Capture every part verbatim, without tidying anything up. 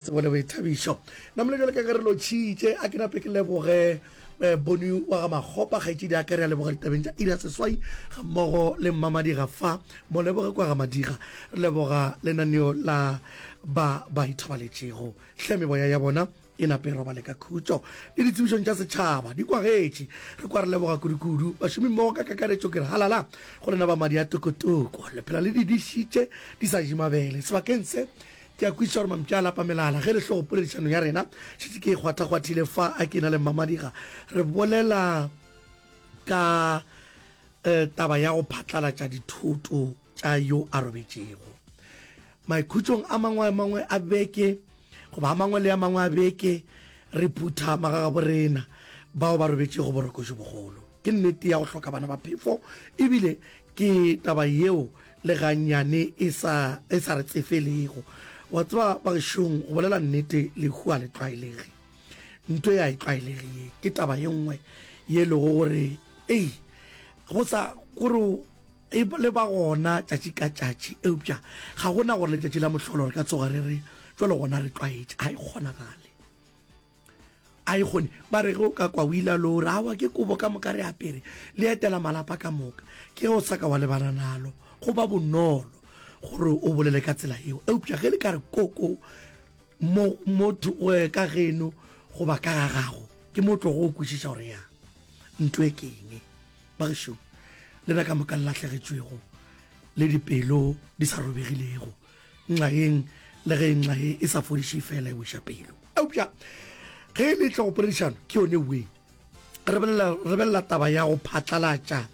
Tsebo le boithabišo. Namile bjalo ka ge re lotšhitše, a ke nape ke leboge eh, Boni wa ga Makgopa, kgaetšedi ya ka, re a leboga ditabeng tša iri ya seswai ga mmogo le Mmamadiga fa, moleboge kwa ga Madiga. Re leboga lenaneo la ba ba ithobaletšego. Hle meboya ya bona e nape e robale ka khutšo. Le ditsebišong tša setšhaba di kwagetše. Re kwa re leboga kudu-kudu bašomimmogo ka kakaretšo ke re halala go lena ba madi a tokotoko. Le phela le di dišitše di sa je mabele. Sebakeng se Ke a kwešiša gore mampša a lapa melala ge le hlogo poledišano ya rena šetše ke e kgwathakgwathile fa a ke na le Mmamadiga re bolela ka eh, taba ya go phatlalatša dithoto tša yo a robetšego. Maikhutšong a mangwe a mangwe a beke goba a mangwe le a mangwe a beke re phutha magagabo rena bao ba robetšego boroko jo bogolo. Ke nnete ya go hloka bana ba phefo ebile ke taba yeo le gannyane e sa, e sa re tsefelego. Wa tseba, bagešong, go bolela nnete, lehu a le tlwaelege. Nto e a e tlwaelege ye. Ke taba ye nngwe ye e lego gore, ei, go sa, gore e le ba gona tšatši ka tšatši, eupša ga go na gore letšatši la mohlolo re ka tsoga re re, jwale gona re tlwaetše. Ga e kgonagale. A e kgone. Ba re ge o ka kwa o ile lo re, aowa ke kobo ka moka re apere, le etela malapa ka moka. Ke ge o sa ka wa lebana nalo. Go ba bonolo gore o bolele ka tsela yeo. Eupša ge le ka re koko mo, mo ka geno goba ka ga gago, ke mo o tlogo o kwešiša gore ya nto e ke eng. Bagešo, lena ka moka le lahlegetšwego le dipelo di sa robegilego, nxaeng le ge nxa ye e sa fodiše fela e weša pelo. Eupša ge e le tlogopoledišano ke yone weng re belela, re belela taba ya go phatlalatša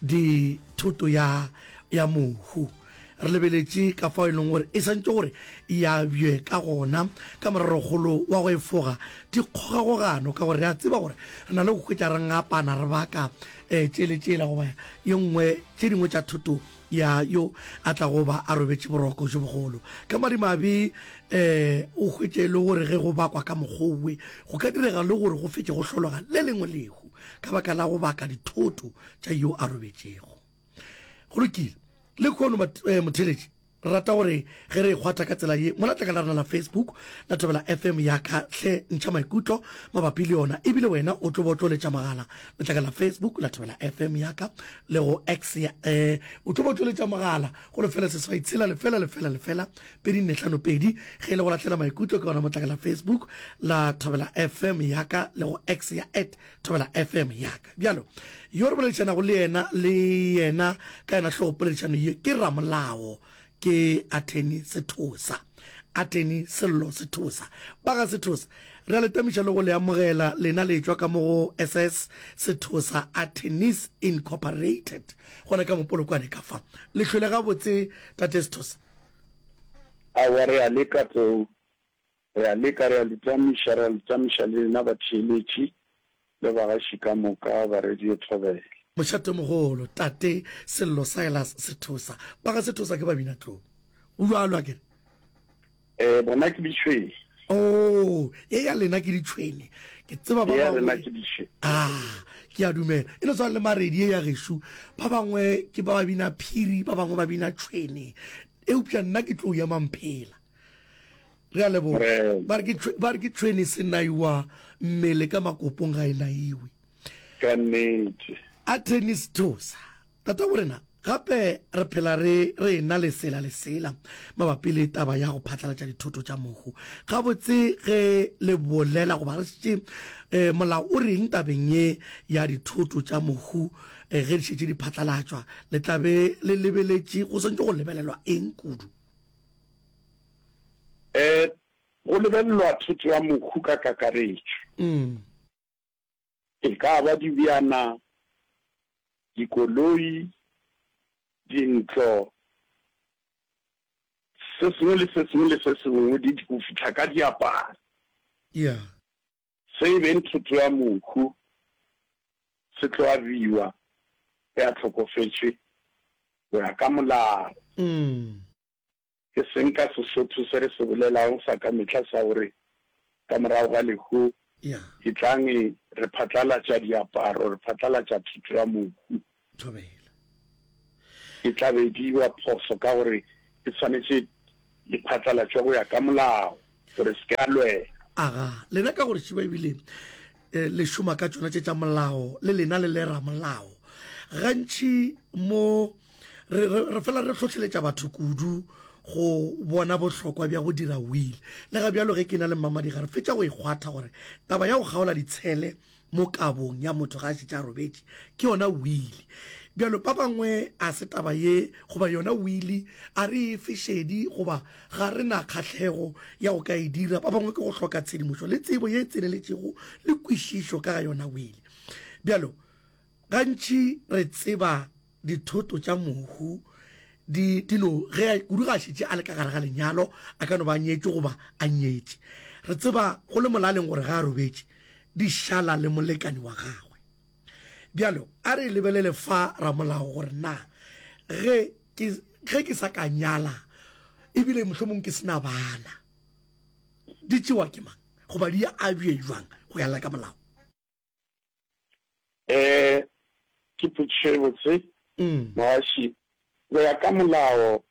dithoto ya, ya mohu. Re lebeletše ka fao e leng gore e santše gore e abje ka gona ka morerokgolo wa go efoga dikgogakgogano, ka gore re a tseba gore re na le go hwetša re ngapana re baka um tšele tšela goba ye nngwe tše dingwe tša thoto ya yo a tlago ba a robetše boroko bjo bogolo. Ka madimabe, um o hwetše e le gore ge go bakwa ka mokgwa owe, go ka direga le gore go fetše go hlologa le lengwe lehu ka baka la go baka dithoto tša yo a robetšego. Go lokile. Lehono, motheeletši, re rata gore ge re e kgwatha ka tsela ye, mola tlakala rena la Facebook la Thobela F M ya ka, hle ntšha maikutlo mabapi le yona, ebile wena o tlo bo tlo letša mogala letlakala la Facebook la Thobela F M ya ka le go X ya, eh, o tlo bo tlo letša mogala go lefela seswai tshela lefela lefela lefela pedi nne hlano pedi ge e le go lahlela maikutlo ke gona motlakala la Facebook la Thobela F M ya ka le go X ya at Thobela F M ya ka. Bjalo yo re boledišanago le yena le yena ka yena hlogopoledišano ye ke ramolao ke Attorney Sethosa, Attorney Sello Sethosa. Ba ga Sethosa, re a le tamiša le go le amogela lena le etšwa ka mo go S S Sethosa Attorneys Incorporated gona ka mo Polokwane ka fa. Le hlwele gabotse Tate Sethosa? Aowa re a leka Tlou, re a leka, re a le tamiša, re a le tamiša le lena batheeletši le bagaši ka moka ba Radio Thobela. Mošatomogolo, Tate Sello Silas Sethosa. Ba ga Sethosa ke Babinatlou. Go bjalo, a ke re? Eh, bona ke ditšhwene. Oh, ye ya lena ke ditšhwene. Ke tseba ba Ye ya rena bangwe. ke ditšhwene. Ah, ke a dumela. E no swana le Maredi ye ya gešo. Ba bangwe ke ba ba bina phiri, ba bangwe ba bina tšhwene. Eupša nna ke tlo ya mamphela. Re a leboga. Ba re ke, ba re ke tšhwene se naiwa mmele ka makopong ga e naiwe. Ka nnete. Attorney Sethosa, tata borena, gape re phela re re ena le sela le sela mabapi le taba ya go phatlalatša dithoto tša mohu. Gabotse ge le bolela goba re šetše eh, molao o reng tabeng ye ya dithoto tša mohu eh, ge di šetše di phatlalatšwa, le tla be le lebeletše go swantše go lebelelwa eng kudu? Eh, go lebelelwa thoto ya mohu ka kakaretšo. Mm. E ka ba dibjana, dikoloi, dintlo, se sengwe le se sengwe le se sengwe, di, go fihla ka diaparo. Yeah. Se e beng thoto ya mohu se tlo abiwa ge a hlokofetše go ya ka molao. Mm. Ke seng ka Sesotho se re se bolelago sa ka mehla sa gore ka morago ga lehu Yeah. etlang re phatlalatša diaparo, re phatlalatša thoto ya mohu. Thobela. E tla be e dirwa phoso ka gore e swanetše e phatlalatšwe go ya ka molao. Gore se ke a lwela. Aga, lena ka gore šiba ebile eh, le šoma ka tšona tše tša molao, le lena le le ramolao. Gantši mo re, re, re fela re hlohleletša batho kudu go bona bohlokwa bja go dira will. Le ga bjalo ge ke na le Mmamadiga re fetša go e kgwatha gore taba ya go kgaola ditshele mo kabong ya motho ga a šetše a robetše ke yona wili. Bjalo ba bangwe a se taba ye goba yona wili a re e fe šedi goba ga re na kgahlego ya go ka e dira. Ba bangwe ke go hloka tshedimošo le tsebo ye e tseneletšego le kwešišo ka ga yona wili. Bjalo gantši re tseba dithoto tša mohu di, di no, ge, kudu ga a šetše a le ka gare ga lenyalo, a ka no ba a nyetšwe goba a nyetše. Re tseba go le molaleng gore ga a robetše, di šala le molekani wa gagwe. Bjalo, a re lebelele fa ramolao gore na ge ke, ge ke sa ka nyala, ebile mohlomong ke se na bana, di tšewa ke mang goba di abje bjang go ya le ka molao? Eh, ke potšišo e botse, mogaši. Go ya ka molao,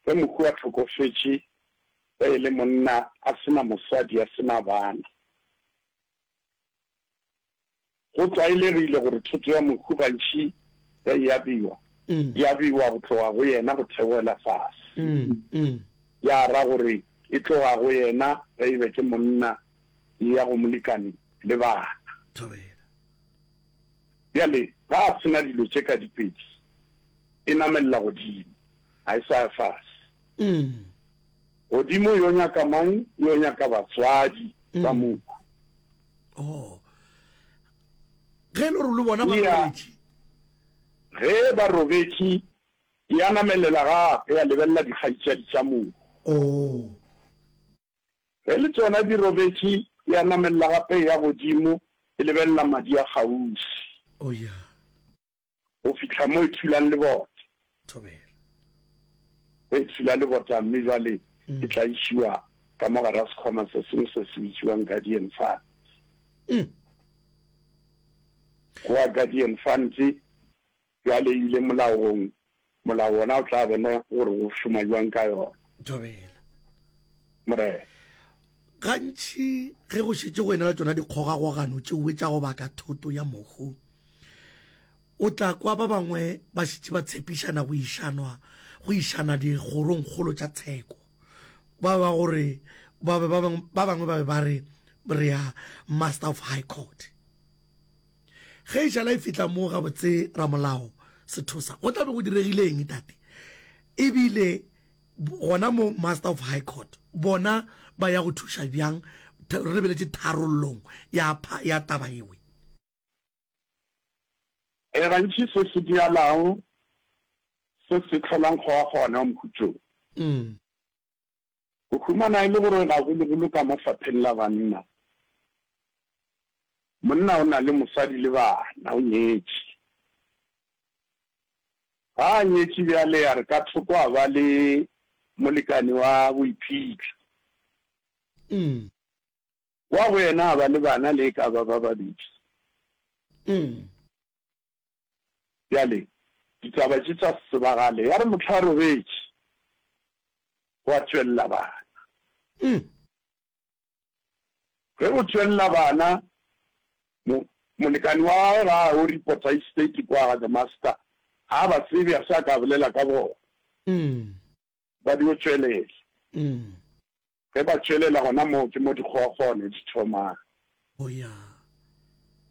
ge mohu a hlokofetše, ge e le monna a se na mosadi, a se na bana, go tlwaelegile gore thoto ya mohu gantši ge e abiwa, e abiwa go tloga go yena go theogela fase. Ya ra gore e tloga go yena ge e be ke monna e ya go molekane le bana. Bjale, ga a se na dilo tše ka dipedi, e namelela godimo, ga e sa ya fase. Godimo yo nyaka mang? Yo nyaka batswadi ba mohu. Oh. Ge e le gore le bona ba robetše. Ge ba robetše, ya namelela gape ya lebelela dikgaetšadi tša mohu. Oh. Ge le tšona di robetše, ya namelela gape ya godimo e lebelela madi a kgauswi. Oh ya. Go fihla mo e thulang lebota. Thobela. Ge e thula lebota mme bjale e tla išiwa ka mo gare ga sekhwama se sengwe se se bitšiwang Guardian Fund. Goa Guardian Fund bjale e ile molaong, molao wona o tla bona gore go šoma bjang ka yona. Thobela. Morena. Gantši ge go šetše go ena le tšona dikgogakgogano tšeoe tša go baka thoto ya mohu, o tla kwa ba bangwe ba šetše ba tshepišana go išanwa, go išana dikgorongkgolo tša tsheko. Ba ba gore, ba be ba bangwe, ba bangwe ba be ba re re ya Master of High Court. Ge e šala e fihla moo gabotse ramolao Sethosa, go tla be go diregile eng tate? Ebile gona mo Master of High Court bona ba ya go thuša bjang re lebeletše tharollong ya, ya taba ewe? E gantši se se dialago se se hlolang kgogakgogano ya mohuto wo. O humana e le gore gagologolo ka mo fapheng la banna, monna o na le mosadi le bana, o nyetše. Ga a nyetše bjale a re ka thoko a ba le molekane wa boiphihlo. Wa go yena a ba le bana le e ka ba ba babedi. Bjale ditaba tše tša se tsebagale, ya re mohla a robetše, gwa tšwelela bana. Ge go tšwelela bana, mo, molekane wa gagwe ga a yo reporta estate kwa ga the master, ga a ba tsebe, a se a ka a bolela ka bona. Ba dio tšwelela. Ge ba tšwelela gona moo ke mo dikgogakgogano di thomang.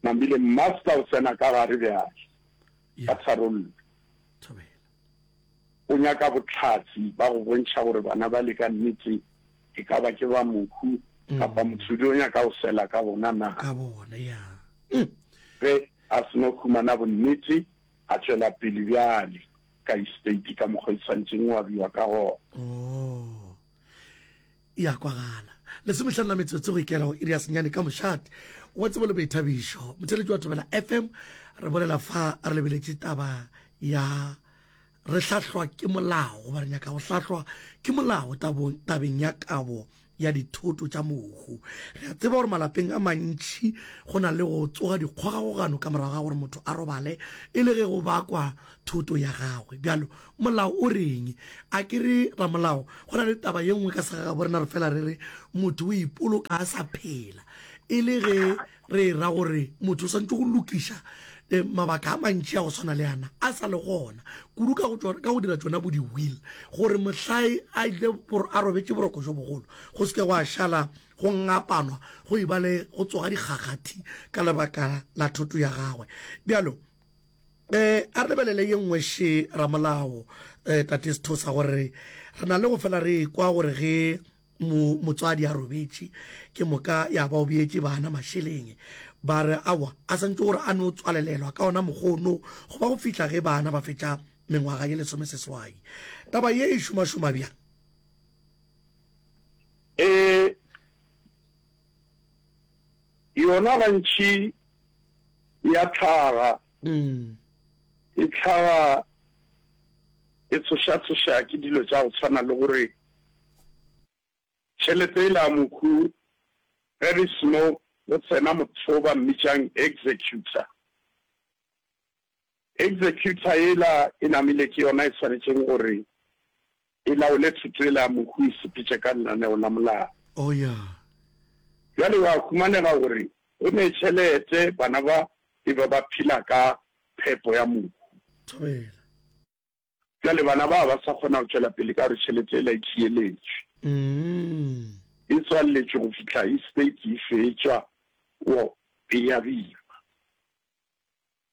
Namile master o tsena ka gare bjale ka tharollo. O nyaka bohlatse ba go bontšha gore bana bale ka nnete e ka ba ke ba mohu kapa mothudi o nyaka go sela ka bona na. Ge a seno humana bonnete a tšwela pele bjale ka estate ka mokgwa e swanetšeng go abiwa ka gona. E a kwagala. Lesomehlano la metsotso go ikela go iri ya senyane ka mošate wa tsebo le boithabišo. Motheeletši wa Thobela F M, re bolela fa re lebeletše taba ya re hlahlwa ke molao goba re nyaka go hlahlwa ke molao tabong, tabeng ya kabo ya dithoto tša mohu. Re a tseba gore malapeng a mantši go na le go tsoga dikgogakgogano ka morago ga gore motho a robale e le ge go bakwa thoto ya gagwe. Bjalo molao o reng? A ke re ramolao, go na le taba ye nngwe ka segagabo rena re fela re re motho o ipoloka a sa phela e le ge re ra gore motho o swanetše go lokiša eh, mabaka a mantši a go swana le ana a sa le gona kudu ka go ka go dira tšona bo di-will gore mohlae a ile a robetše boroko jo bogolo go se ke gwa šala go ngapanwa go e ba le go tsoga dikgakgathi ka lebaka la thoto ya gagwe. Bjalo um a re lebelele ye nngwe še ramolao um tate Sethosa gore re na le go fela re kwa gore ge mo motswadi a robetše ke moka ya ba o beetše bana mašeleng ba re awa a santse gore a no tswalelelwa ka ona mokgono go ba go fihla ge bana ba fetša mengwaga ye lesomeseswai. Taba ye e šomašoma bjang? Um yona gantši ya tlhaga Mm. e tlhaga e tsoša-tsoša ke dilo tša go tshwana le gore tšhelete e la mokhu ge re seno go tsena motho ba mmitšang executor. Executor ela e namile ke yona e tshwanetšeng gore e laole thuto ela ya mohu e sepetše ka lenaneo la molao. Oh ya. Bjale wa humanega gore go ne tšhelete bana ba e ba ba phela ka phepo ya mohu. Thobela. Bjale bana ba ba sa kgona go tšwela pele ka gore tšhelete ela e tšieletšwe. Mm. E tswalletšwe go fihla estate e fetšwa o e abiwa.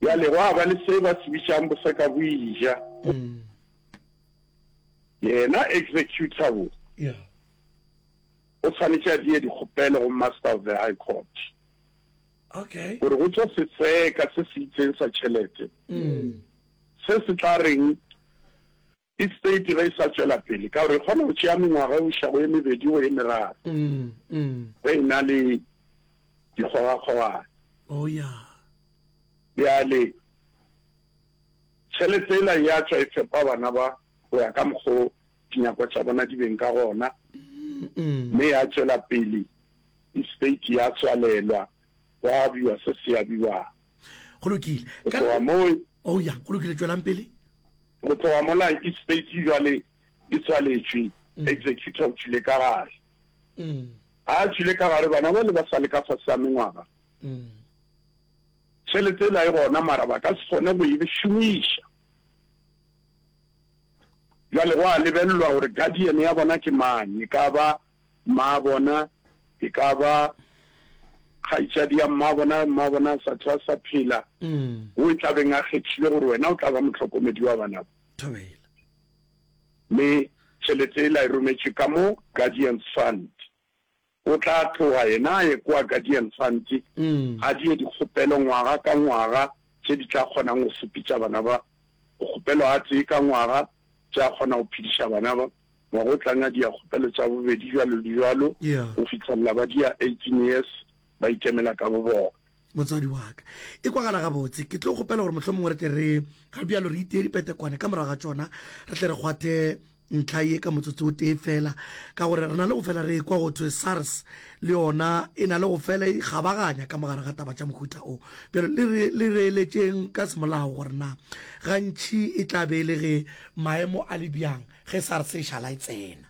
Bjale gwa ba le se ba se bitšang boseka bo ija. Mm. Yena executor bo Yeah. o tshwanetše a die dikgopelo go Master of the High Court Okay. gore go tswe setseka se se itseng sa tšhelete Mm. se se tla reng estate ge e sa tšwela pele ka gore e kgona go tšea mengwaga go iša go ye mebedi go ye meraro Mm. Mm. ge e na le dikgogakgogano. Oh yeah. Bjale tšhelete ela ya tšwa e fepa bana ba go ya ka mokgo dinyakwa tša bona di beng ka gona Mm. mme ya tšwela pele estate ya tswalelwa gwa abiwa se se abiwang. Go lokile. Go Ka tloga moo Oh ya, go lokile tšwelang pele. go tloga mola estate jwale e tswaletšwe executor o tšwile ka gare. Mm. A tšwile ka gare bana ba le ba sa le ka fase ga mengwaga Mm. tšhelete ela e gona mara ba ka se kgone go e šomiša. Bjale go a lebelelwa gore guardian ya bona ke mang, e ka ba mma bona, e ka ba kgaetšadi ya mma bona, mma bona a sa tšwa sa phela, Mm. o e tla beng a kgethile gore wena o tla ba mohlokomedi wa bana ba. Thobela. Mme tšhelete ela e rometšwe ka mo Guardians Fund. O tla tloga yena a ye kwa Guardian Fund Mm. a die dikgopelo ngwaga ka ngwaga tše di tla kgonang go sepetša bana ba. Go kgopelwa a tee ka ngwaga tša kgona go phediša bana ba. Ngwaga o tlang a dia kgopelo tša bobedi jwalo le jwalo Yeah. go fitlhelela ba dia eighteen years ba ikemela ka bo bona. Motswadi wa ka e kwagala gabotse. Ke tlo kgopela gore mohlomongwe re tle re ga bjalo re itee dipetekwane ka morago ga tšona re tle re kgwathe ntlha ye ka motsotso o tee fela ka gore re na le go fela re kwa go thwe SARS le yona e na le go fela e kgabaganya ka mogare ga taba tša mohuta o. Bjalo le re le re eletšeng ka semolao gore na gantši e tla be e le ge maemo a le bjang ge SARS e šala e tsena.